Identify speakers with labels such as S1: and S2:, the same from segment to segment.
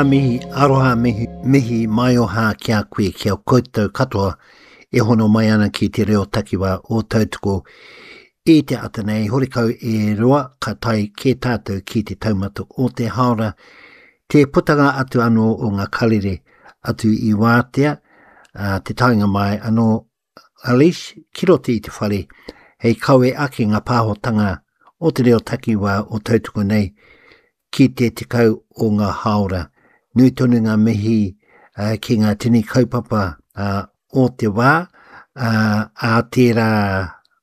S1: Mihi aroha, mihi, mihi maioha ki a koe, ki a koutou katoa e hono mai ana ki te reo takiwā o Tautoko i te ata nei, horekau e roa ka tae kē tātou ki te taumata o te haora, te putanga atu anō o ngā karere atu i wātea, ā, te taenga mai anō Alice ki roto i te whare hei kawe ake ngā pāhotanga o te reo takiwā o Tautoko nei ki te 10 o ngā hāora. Nui tonu ngā mihi ki ngā tini kaupapa o te wā, ā tērā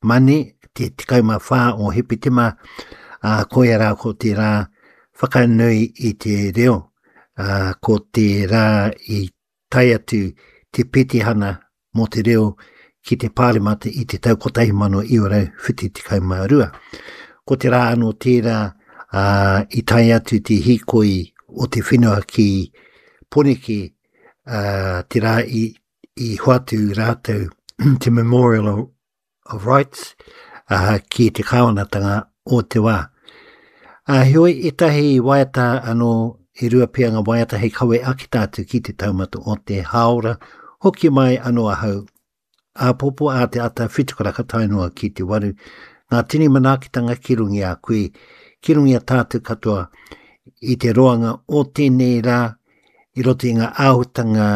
S1: Mane, te 14 o Hepetema, ā, koia rā ko te rā whakanui i te reo, ā, ko te rā i tae atu te petihana mō te reo ki te Pāremata i te tau 1972. Ko te rā anō tērā ā, i tae atu te hīkoi o te whenua ki Poneke, ā, te rā i, i hoatu rātou te Memorial of Rights uh, ki te kāwanatanga o te wā. Uh, heoi, ētahi waiata anō, e rua pea ngā waiata hei kawe ake tātou ki te taumata o te hāora, hoki mai anō ahau āpōpō ā te ata whitukaraka tae noa ki te waru, ngā tini manaakitanga ki runga i a koe, ki runga i a tātou katoa i te roanga o tēnei rā, i roto i ngā āhutanga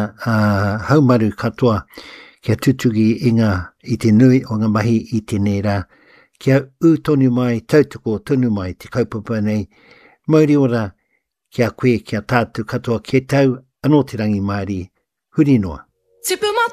S1: haumaru katoa kia tutuki i ngā, i te nui o ngā mahi i tēnei rā, kia ū tonu mai, tautoko tonu mai te kaupapa nei, mauri ora ki a koe, ki a tātou katoa, kia tau anō te rangimārie, huri noa.
S2: Tipu mā.